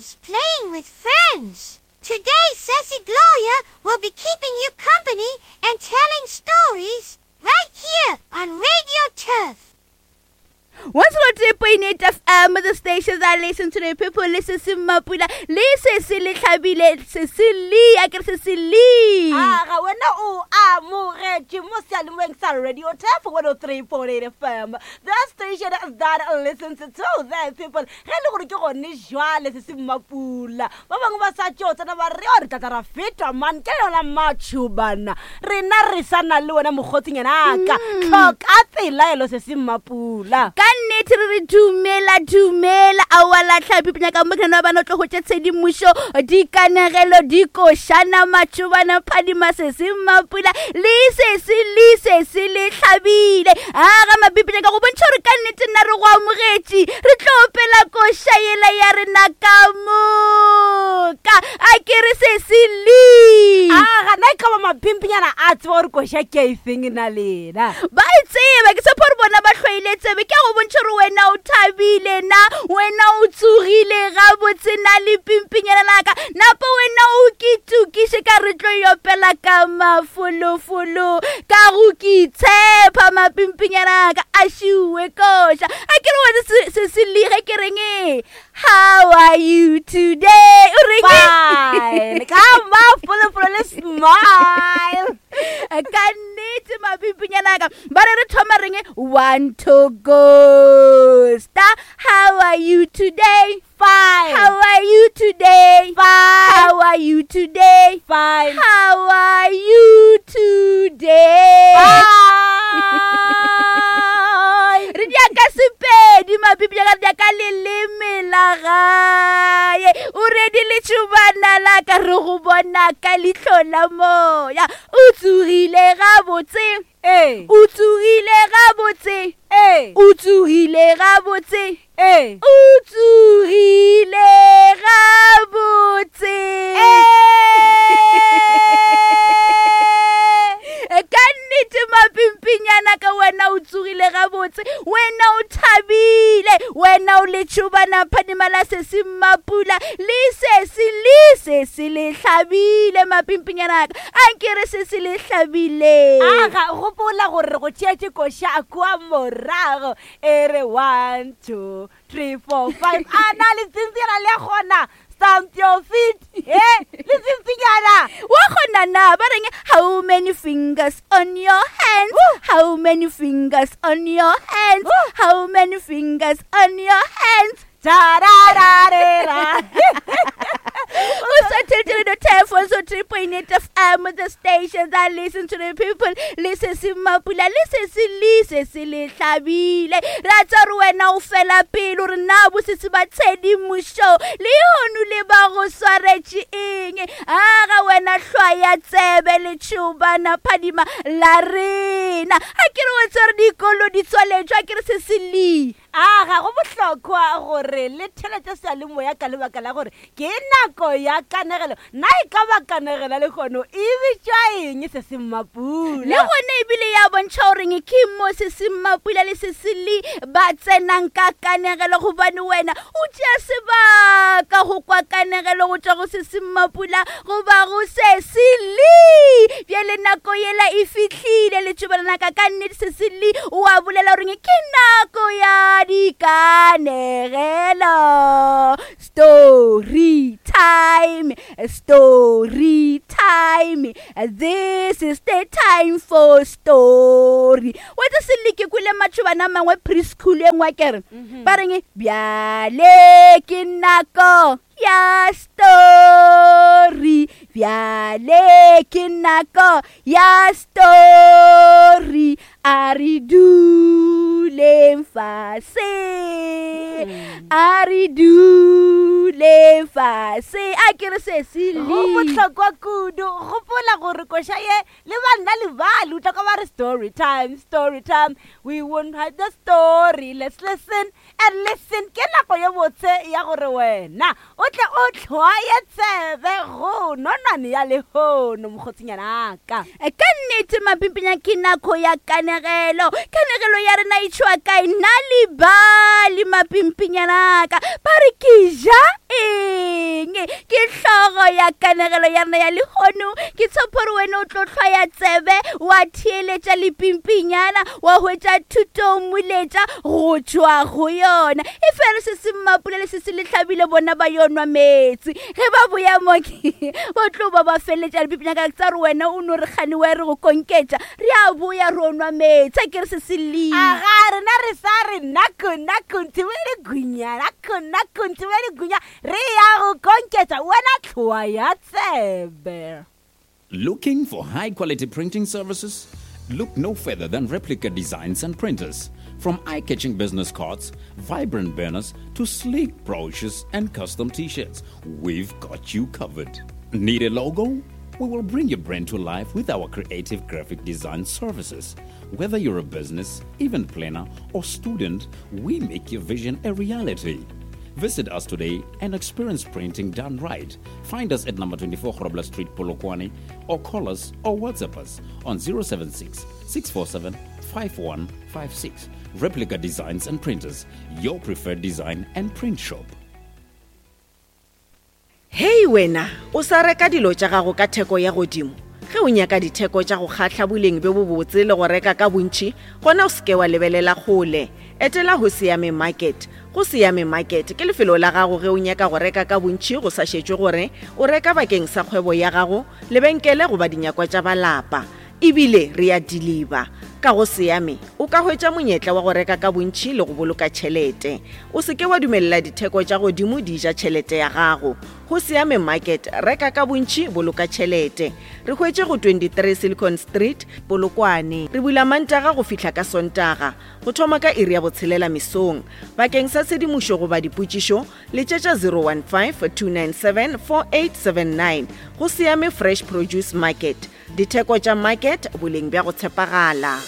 loves playing with friends. Today, Sassy Gloria will be keeping you company and telling stories right here on Radio Turf. 103.8 FM, the station that listen to the people, listen to Mapula, listen se le hlabile, se se le, a ke re se se le. Aga wena o amogetše mo seyalemoyeng sa Radio Turf 103.8 FM. The station that listens to the people. Ge e le gore ke gone jwale se se mmapula. Ba bangwe ba sa tšo tsena ba re re tla tla ra fetwa man ke yona macho bana. Rena re sa na le wena mokgotsinyana ka. Tlhoka pelaelo se se mmapula. Ka nnete re re dumela dumela aowa la tlhapi nyaka mo kena bana o tlo hwetša tshedimošo dikanegelo dikošana matšobana phadima se se mmapula le se se le se se le hlabile a ga mapipi nyaka go bontšha gore ka nnete nna re go amogetše re tlo opela koša yela ya rena ka moka a ke re se se le A gana e ka ba mapimpinyana a tseba gore koša ke efeng na lena. Ba e tseba, ke tshepa gore bona ba hlwaile tsebe. Ke a go bontšha gore wena o thabile na, wena o tsogile gabotse na le pimpinyana la ka. Napa wena o ke tukiše ka re tlo e opela ka mafolofolo, ka go ke tshepa mapimpinyana a ka a šiwe koša. A ke re wena se se se lige ke reng e? How are you today? O reng? Fine. Ka mafolofolo le smile. Ka nnete mapimpinyana ka. Ba re re thoma reng? One to go. Star, how are you today? Fine. How are you today? Fine. How are you today? Fine. How are you today? Fine. Re dia ka Sepedi mapipi ka dia ka leleme la gae. O redi letšobana la ka re go bona ka leihlo la moya. O tsogile gabotse. Ee. O tsogile gabotse. Ee. O tsogile gabotse. Ee. O tsogile gabotse. Ee. Ka nnete mapimpinyana ka wena o tsogile gabotse, wena o thabile, wena o letšobana phadima la sesi mmapula le sesi le sesi le hlabile mapimpinyana ka a nke re sesi le hlabile. Aga gopola gore re go tšeetše koša kua morago e re 1 2 3 4 5 a na le tsintsinyana le gona stamp your feet e le tsintsinyana wa kgona na ba reng how many fingers on your hands? How many fingers on your hands? How many fingers on your hands? Tarararera. O sa theletše Radio Turf 103.8 FM, the station that listen to the people. Le se se mapula, le se se le se se le hlabile. Ra tseba gore wena o fela pele gore na bo se se ba tshedimošo le hono le ba go swaretše eng. A ga wena hlwaya tsebe le tšhobana phadima la rena. A ke re o tseba gore dikolo di tswaletšwe, a ke re se se le. A ga go bohlokwa gore le theletše seyalemoya ka lebaka la gore ke nako ya kanegelo. Na e ka ba kanegelo lehono e bitšwa eng se se mmapula? Le gona ebile ya bontšha goreng ke mo se se mmapula le se se le ba tsenang ka kanegelo, gobane wena o tšea sebaka go kwa kanegelo go tšwa go se se mmapula goba go se se le. Bjale nako yela e fihlile letšobalana ka ka nnete se se le o a bolela goreng ke nako ya dikanegelo. Story time, story time, this is the time for story. Wa tse se leke kwele matšhobana a mangwe preschool e nngwe kere ba reng bjale ke nako ya story, bjale ke nako ya story, a re duleng fase, a re duleng fase. A ke re se se Go le bohlokwa kudu gopola gore koša ye le banna le bale o tla kwa ba re story time, story time, we won't hide the story, let's listen and listen. Ke nako ye botse ya gore wena o tle o hlwaye tsebe go nonwane ya lehono mokgotsinyana ka. Ka nnete mapimpinya ke nako ya kanegelo. Kanegelo ya rena e tšwa kae? Nna le bale mapimpinyana ka ba re ke ja eng? Ke hlogo ya kanegelo ya rena ya lehono. Ke tshepo gore wena o tlo hlwaya tsebe wa theeletša lepimpinyana wa hwetša thuto moletša go tšwa go yona. E fela se se Mmapula le se se Lehlabile bona ba yo nwa meetse. Ge ba boya mo ke ba tlo ba ba feleletša lepimpinyana ka tsa gore wena o no re kgane wa re go konketša. Re a boya ro nwa meetse a ke re se se lile. Aga rena re sa re nako nako ntshibele gunya nako nako ntshibele gunya re ya go konketša wena tlhoa ya tsebe. Looking for high quality printing services? Look no further than Replica Designs and Printers. From eye catching business cards, vibrant banners, to sleek brochures and custom t shirts, we've got you covered. Need a logo? We will bring your brand to life with our creative graphic design services. Whether you're a business, event planner, or student, we make your vision a reality. Visit us today and experience printing done right. Find us at number 24 Grobler Street, Polokwane, or call us or WhatsApp us on 076 647 5156. Replica Designs and Printers, your preferred design and print shop. Hei wena, o sa reka dilo tša gago ka theko ya godimo? Ge o nyaka ditheko tša go kgahla boleng bjo bobotse le go reka ka bontši, gona o se ke wa lebelela kgole. Etela Hosiame Market. Go Siame Market ke lefelo la gago ge o nyaka go reka ka bontši go sa šetšwe gore o reka bakeng sa kgwebo ya gago, lebenkele goba dinyakwa tša ba lapa. E bile re a diliba. Ka go Siame, o ka hwetša monyetla wa go reka ka bontši le go boloka tšhelete. O se ke wa dumelela ditheko tša godimo di ja tšhelete ya gago. Go Siame Market, reka ka bontši, boloka tšhelete. Re hwetše go 23 Silicon Street, Polokwane. Re bula Mantaga go fihla ka Sontaga, go thoma ka iri ya botshelela mesong. Bakeng sa tshedimošo goba dipotšišo, letšetša 015 297 4879. Go Siame Fresh Produce Market. Ditheko tša market, boleng bja go tshepagala.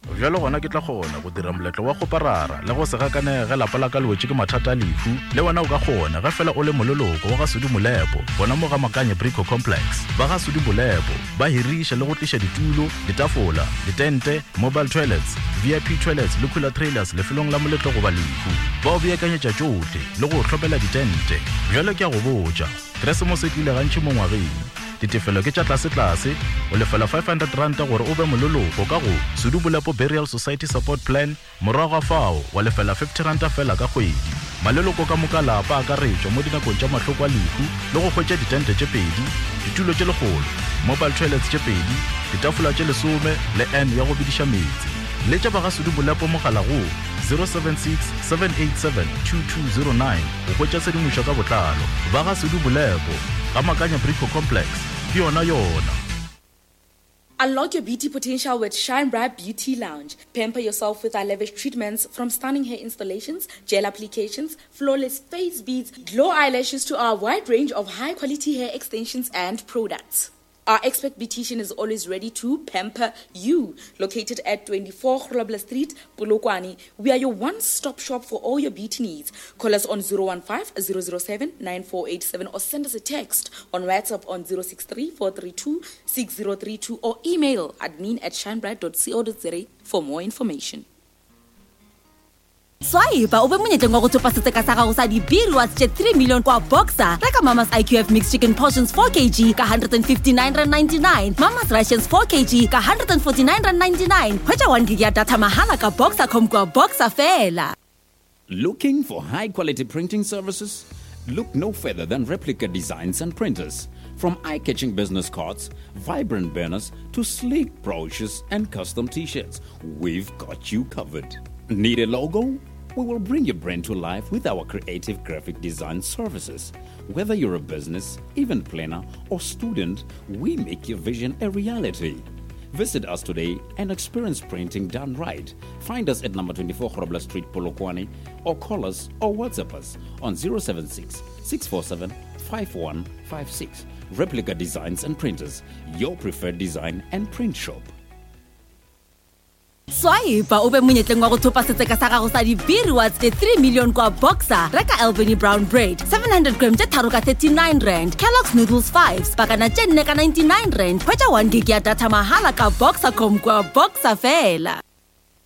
Bjalo gona ke tla kgona go dira moletlo wa kgoparara le go se gakanege ge lapa la ka le wetše ke mathata a lehu. Le wena o ka kgona ge fela o le moleloko wa ga Sudi Molepo gona mo ga Makanye Brico Complex. Ba ga Sudi Molepo ba hiriša le go tliša ditulo, ditafola, ditente, mobile toilets, VIP toilets le cooler trailers lefelong la moletlo goba lehu. Ba o beakanyetša tšohle le go o hlopela ditente. Bjalo ke a go botša, Keresemose e tlile gantši mo ngwageng. Ditefelo ke tša tlasetlase, o lefela R500 gore o be moleloko ka go Sudu Bolepo Burial Society Support Plan, morago ga fao wa lefela R50 feela ka kgwedi. Maleloko ka moka a lapa a akaretšwa mo dinakong tša mahloko a lehu le go hwetša ditente tše pedi, ditulo tše lekgolo, mobile toilets tše pedi, ditafola tše lesome le urn ya go bediša meetse. Letša ba ga Sudu Bolepo mogala go 076 787 2209. Go hwetša tshedimošo ka botlalo, ba ga Sudu Bolepo, ga Makanya Brico Complex, ke yona yona. Unlock your beauty potential with Shine Bright Beauty Lounge. Pamper yourself with our lavish treatments from stunning hair installations, gel applications, flawless face beads, glow eyelashes to our wide range of high quality hair extensions and products. Our expert beautician is always ready to pamper you. Located at 24 Grobler Street, Polokwane, we are your one-stop shop for all your beauty needs. Call us on 015 007 9487 or send us a text on WhatsApp on 063 432 6032 or email admin at shinebright.co.za for more information. Swipe o be monyetleng wa go thopa setseka sa gago sa di-B-rewards tše 3 million kwa Boxer. Reka Mama's IQF mixed chicken portions 4 kg ka R159.99, Mama's Rations 4 kg ka R149.99. Hwetša 1 gig ya data mahala ka Boxercom kwa Boxer fela. Looking for high quality printing services? Look no further than Replica Designs and Printers. From eye catching business cards, vibrant banners, to sleek brochures and custom t shirts, we've got you covered. Need a logo? We will bring your brand to life with our creative graphic design services. Whether you're a business, event planner, or student, we make your vision a reality. Visit us today and experience printing done right. Find us at number 24 Grobler Street, Polokwane, or call us or WhatsApp us on 076 647 5156. Replica Designs and Printers, your preferred design and print shop. Swipe o be monyetleng wa go thopa setseka sa gago sa di-B-rewards tše 3 million kwa Boxer. Reka Albany brown bread 700 gram tše tharo ka 39 rand, Kellogg's noodles 5 pakana tše nne ka 99 rand. Hwetša 1 gig ya data mahala ka Boxercom kwa Boxer fela.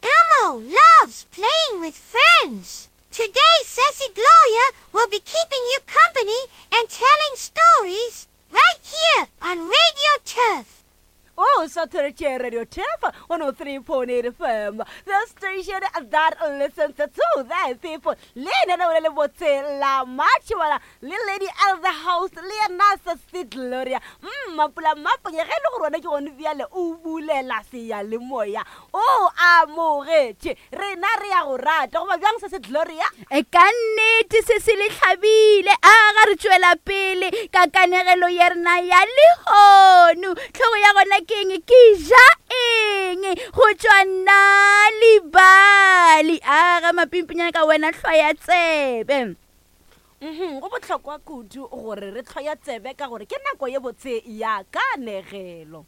Elmo loves playing with friends. Today, Sassy Gloria will be keeping you company and telling stories right here on Radio Turf. O sa theretše Radio Turf 103.8 FM, the station that listens to the people. Le lenaneo le lebotse la Matšhibana le Lady L the host le yena Sesi Gloria. Mapula Maponya ge e le gore wena ke gone bjale o bulela seyalemoya. O amogetše. Rena re ya go rata goba bjang Sesi Gloria? E ka nnete se se le hlabile. A ga re tšwela pele ka kanegelo ya rena ya lehono. Hlogo ya gona ke eng? Ke ja eng? Go tšwa nna libali. A ga mapimpinyana ka wena hlwaya tsebe. Mhm, go bohlokwa kudu gore re hlwaya tsebe ka gore ke nako ye botse ya kanegelo.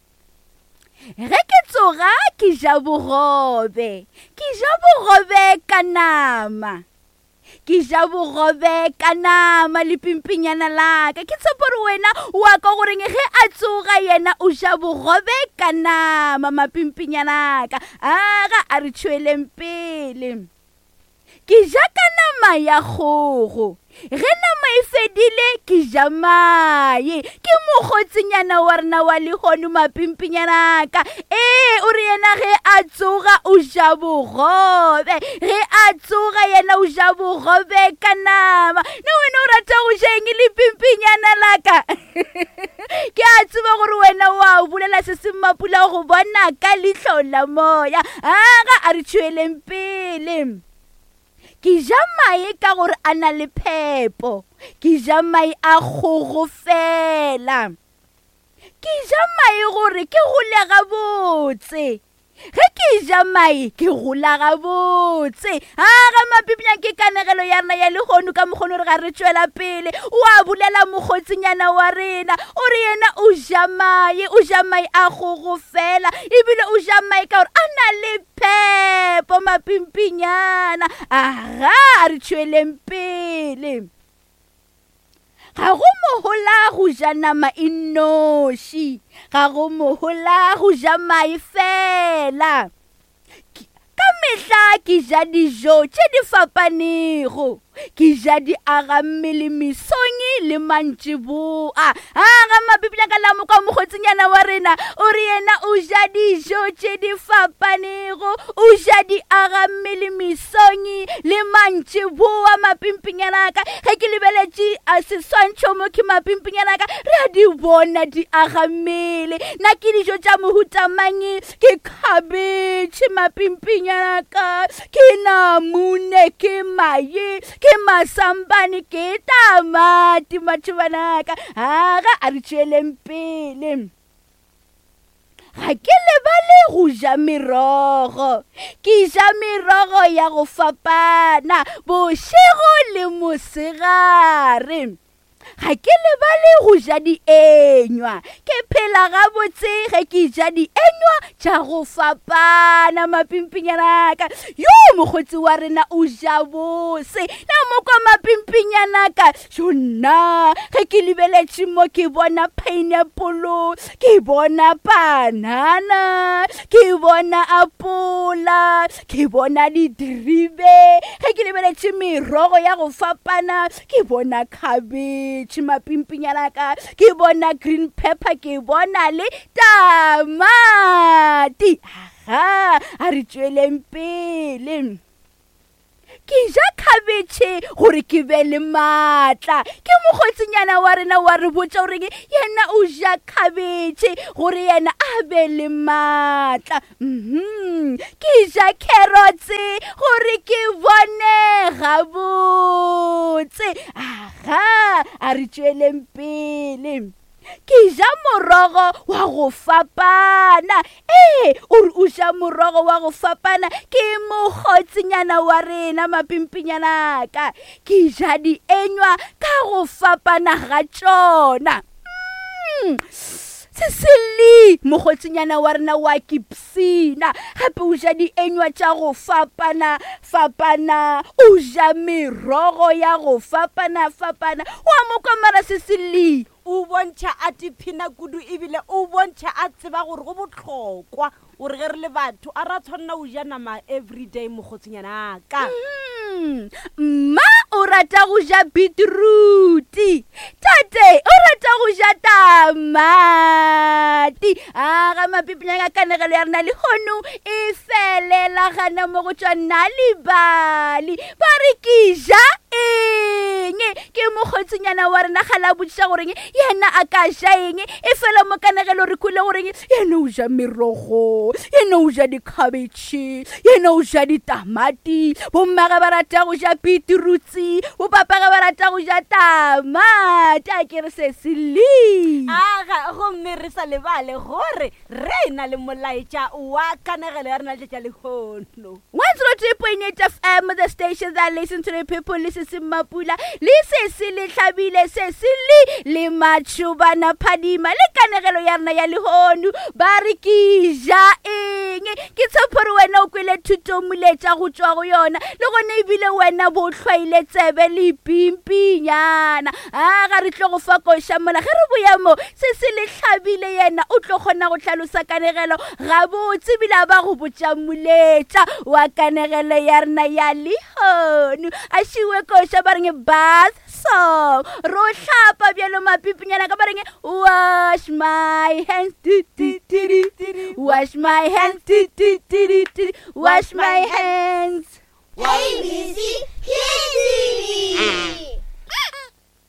Ge ke tsoga ke ja bogobe, ke ja bogobe ka nama. Ke ja bogobe ka nama le pimpinyana la ka. Ke tshepo gore wena o a kwa goreng ge a tsoga yena o ja bogobe ka nama mapimpinyana ka. Aga a re tšhweleng pele. Ke ja ka nama ya kgogo. Ge nama e fedile, ke ja mae. Ke mokgotsinyana wa rena wa lehono mapimpinyana ka. Ee, o re yena ge a tsoga o ja bogobe. Ge a tsoga yena o ja bogobe ka nama. Na wena o rata go ja eng lepimpinyana la ka? Ke a tseba gore wena wa bolela se se mapula go bona ka leihlo la moya. Aga a re tšhweleng pele. Ke ja mae ka gore a na le phepo. Ke ja mae a kgogo fela. Ke ja mae gore ke gole gabotse. Ge ke ja mae ke gola gabotse. A ga mapipnya ke kanegelo ya rena ya lehono ka mokgono re ga re tšwela pele. O a bolela mokgotsinyana wa rena. O re yena o ja mae, o ja mae a kgogo fela. Ebile o ja mae ka gore a na le phepo mapimpinyana. Aga a re tšweleng pele. Ga go mohola go ja nama e nnoši, ga go mohola go ja mae fela. Ka mehla ke ja dijo tše di fapanego, ke ja di aga mmele mesong le mantšiboa. Aga mapipša ka la mokwa mokgotsinyana wa rena o re yena o ja dijo tše di fapanego, o ja di aga mmele mesong le mantšiboa. Mapimpinyana ka ge ke lebeletše a seswantšho mo ke mapimpinyana ka re a di bona di aga mmele. Na ke dijo tša mohuta mang? Ke khabetšhe mapimpinyana ka, ke namune, ke mae, ke masambane, ke tamati matšhobanaka. Aga a re tšweleng pele. Ga ke lebale go ja merogo. Ke ja merogo ya go fapana bošego le mosegare. Ga ke lebale go ja dienywa. Ke phela gabotse ge ke ja dienywa tša go fapana mapimpinyana ka. Yo mokgotsi wa rena o ja bose. Na mokwa mapimpinyana ka. Jo nna ge ke lebeletše mo ke bona pineapple, ke bona banana, ke bona apola, ke bona didiribe. Ge ke lebeletše merogo ya go fapana, ke bona cabbage mapimpinyana ka, ke bona green pepper, ke bona le tamati. Aha, a re tšweleng pele. Ke ja khabetšhe gore ke be le maatla. Ke mokgotsinyana wa rena wa re botša gore yena o ja khabetšhe gore yena a be le maatla. Ke ja carrots gore ke bone gabotse. Aha, a re tšweleng pele. Ke ja morogo wa go fapana. Ee, o re o ja morogo wa go fapana. Ke mokgotsinyana wa rena mapimpinyana ka. Ke ja dienywa ka go fapana ga tšona. Seseli, mokgotsinyana wa rena wa kipsina. Gape o ja dienywa tša go fapana fapana. O ja merogo ya go fapana fapana. Wa mo kwa mara Seseli? O bontšha a tiphina kudu ebile o bontšha a tseba gore go bohlokwa gore ge re le batho a ra tshwanela go ja nama everyday mokgotsinyana ka. Mma o rata go ja beetroot. Tate o rata go ja tamati. A ga mapipinyana ka kanegelo ya rena lehono e felela gana mo go tšwa Nal'ibali. Ba re ke ja eng? Ke mokgotsinyana wa rena ga la botšiša goreng yena a ka ja eng. E fela mo kanegelo re kwele goreng yena o ja merogo, yena o ja dikhabetšhe, yena o ja ditamati. Bommage ba rata go ja beetroots, bopapage ba rata go ja tamati. A ke re se se le. Aga, gomme re sa lebale gore re na le molaetša wa kanegelo ya rena letšatši la lehono. 103.8 FM, the station that listen to the people, le sesi Mapula, le sesi le hlabile, sesi le le matšhobana phadima, le kanegelo ya rena ya lehono, ba re ke ja eng? Ke tshepo gore wena o kwele thuto moletša go tšwa go yona, le gona ebile wena bo hlwaile tsebe le pimpinyana. A ga re tlo go fa koša mola ge re boya mo, sesi le hlabile yena o tlo kgona go hlalosa kanegelo gabotse ebile a ba go botša moletša wa kanegelo ya rena ya lehono. A šiwe koša ba reng bath song, ro hlapa bjalo mapipinyana ka ba reng wash my hands, ti, ti, ti, ti, ti, wash my hands, ti, ti, ti, ti, ti, wash my hands. A B C Kids TV.